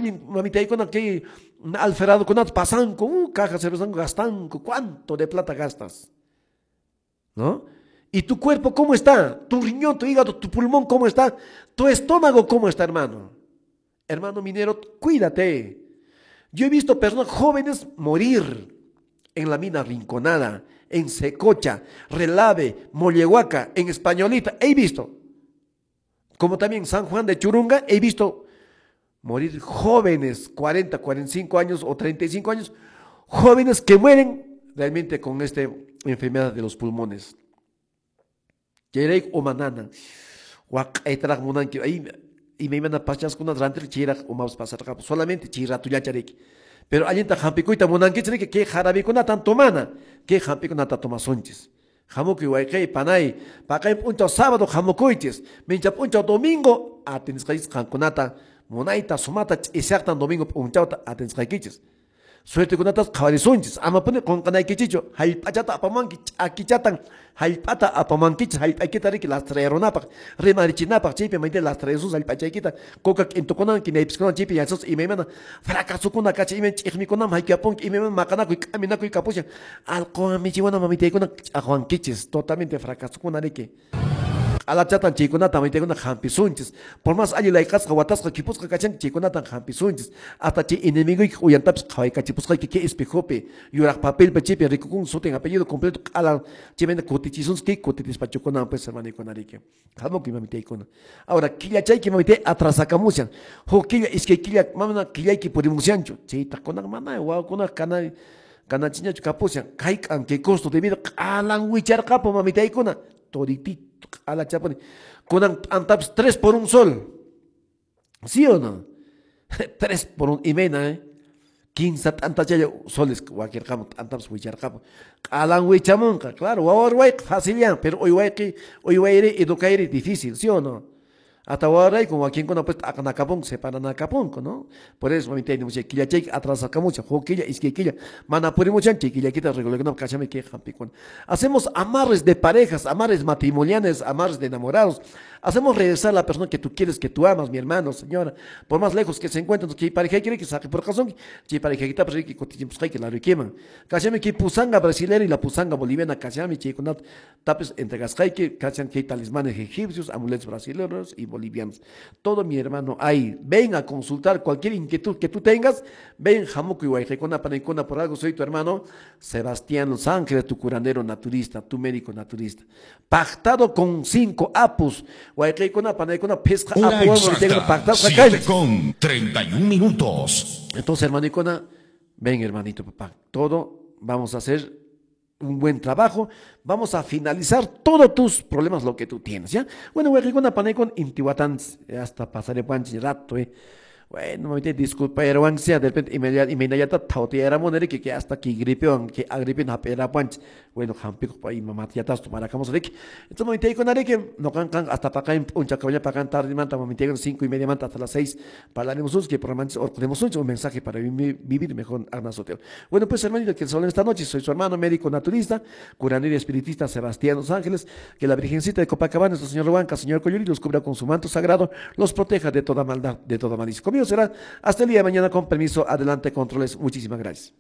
allin mamitaykuna kay alferadokunata pasanku, caja cervezanku gastanku, ¿cuánto de plata gastas? ¿No? ¿Y tu cuerpo cómo está? ¿Tu riñón, tu hígado, tu pulmón cómo está? ¿Tu estómago cómo está, hermano? Hermano minero, cuídate. Yo he visto personas jóvenes morir en la mina Rinconada, en Secocha, Relave, Mollehuaca, en Españolita. He visto. Como también San Juan de Churunga, he visto morir jóvenes, 40, 45 años o 35 años, jóvenes que mueren realmente con esta enfermedad de los pulmones. Solamente chiratullachariki. Pero allinta hampikuyta munankichik kay jarabikunatan tomana, kay hampikunata tomasunchis. Hamukuy wayqey panay, paqay p'unchaw sábado hamukuychis, mincha p'unchaw domingo atinisqaychis qankunata munayta sumata ch'isaqtan domingo p'unchawta atinisqaykichis. Suertekunatas qhawarisunchis, amapuni qunqanaykichichu, hallp'achata apamanki, ch'akichatan hallp'ata apamankichis, hallp'aykita riki lastrayarunapaq, rimarichinapaq, chaypi mayta lastrayasus hallp'achaykita, coca k'intukunan, kinaypiskunan, chaypi yachasus imaymana fracasukuna kacha, imayna ch'iqmikunaman haykapunki, imaymana maqanakuy, k'aminakuy kapushan, allquwan michiwana mamitaykuna ch'aqwankichis, totalmente fracasukuna riki. Q'alachatan chaykunata mamitaykuna hampisunchis, por más alli layqasqa watasqa khipusqa kachanki chaykunatan hampisunchis, hasta chay enemiguykiq uyantapis qhawaykachipusqayki kay espejopi, yuraq papelpi chaypi rikukun sutin apellido completo q'ala chaymayna kutichisunchis kay kutitispachukunan pues hermanikuna riki. Hamukuy mamitaykuna. Ahora killachayki mamitay atrasakamushan, huk killa iskay killa mana killayki purimushanchu, chaytaq mana wawakuna kana kanachiñachu kapushan, hayk'an kay costo de vida q'alan wicharqapu mamitaykuna, toritito q'alachapuni. Kunan t'antapis 3 por 1 sol. ¿Sí o no? 3 por 1 imena, ¿eh? 15 t'antachalla soles wakirqamu, t'antapis wicharqamu. Q'alan wichamunqa, claro, wawarwayqa facilyan, pero uywayqi, uywayri, educayri difícil, ¿sí o no? Hasta wawarayku wakinkuna pues t'aqanakapunku, separanakapunku, ¿no? Por eso mamitay nimuchay, killachayki atrasakamuchan, huk killa, iskay killa, mana purimuchan, chay killakita regularkunapaq kachami kay hampikuna. Hacemos amarres de parejas, amarres matrimoniales, amarres de enamorados. Hacemos regresar a la persona que tú quieres, que tú amas, mi hermano, señora, por más lejos que se encuentren, que pareja quiere que saque por razón, que pareja que está que que la requeman. Kachami que pusanga brasileña y la pusanga boliviana, kachami que con tapes entregasqayki, kachan que talismanes egipcios, amuletos brasileños y bolivianos. Todo mi hermano ahí, ven a consultar cualquier inquietud que tú tengas, ven hamukuy wayqaykuna panaykuna, por algo soy tu hermano Sebastián Los Ángeles, tu curandero naturista, tu médico naturista. Pactado con 5 apus. Wayqaykuna panaykuna pesca apu pactado 7:31 minutos. Entonces, hermanicona, ven hermanito papá, todo vamos a hacer un buen trabajo, vamos a finalizar todos tus problemas, lo que tú tienes, ¿ya? Bueno, wayqaykuna panaykuna intiwatan hasta pasaré panchi rato, Bueno, mamita, disculpa, pero de repente inmediata tautiera monere que hasta que gripe que agripe na pera panch. Bueno, hampico pa y mamá ya tas tomar acá rek. Entonces mamita con areke no can can hasta pa acá un chacaballa pa cantar manta mamita con 5:30 manta hasta las 6 hablaremos que por manches un mensaje para vivir mejor Arnas Hotel. Bueno, pues hermanito, que solo esta noche soy su hermano médico naturista, curandero y espiritista Sebastián Los Ángeles, que la Virgencita de Copacabana, nuestro Señor Huanca, Señor Coyuri, los cubra con su manto sagrado, los proteja de toda maldad, de toda malicia. Conmigo será hasta el día de mañana, con permiso. Adelante, controles. Muchísimas gracias.